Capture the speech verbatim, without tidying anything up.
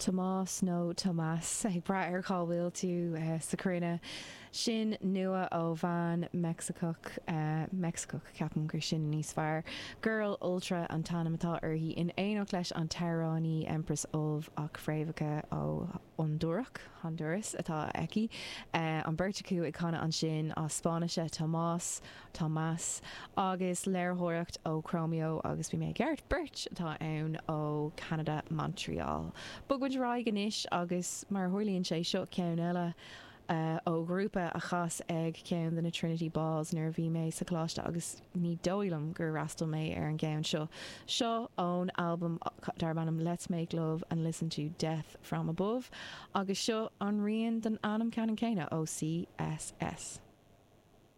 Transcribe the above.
Tomás nó Tomás ag brath ar cá bhfuil tú uh, sa chruinne. Sin nua ó bhean Meicsicach uh, Meicsicach ceapaim gur sin níos fearr. Girl Ultra an t-ainm atá uirthi in éineacht leis an t-amhránaí Empress Of ach fréamhacha ó Hondúrach Honduras atá aici. Uh, an bheirt acu ag canadh ansin as Spáinnise Tomás Tomás agus léiritheoireacht ó Chromeo agus bhí mé ceart beirt atá ann ó Canada Montreal. Bogfaimid ar aghaidh anois agus mar tharlaíonn sé seo ceann eile uh, ó ghrúpa a chas ag ceann de na Trinity Balls nuair a bhí mé sa choláiste agus ní dóigh liom gur fhreastail mé ar an gceann seo. Seo ón album darb ainm Let's Make Love and Listen to Death from Above agus seo an rian den ainm ceannann céanna ó CSS.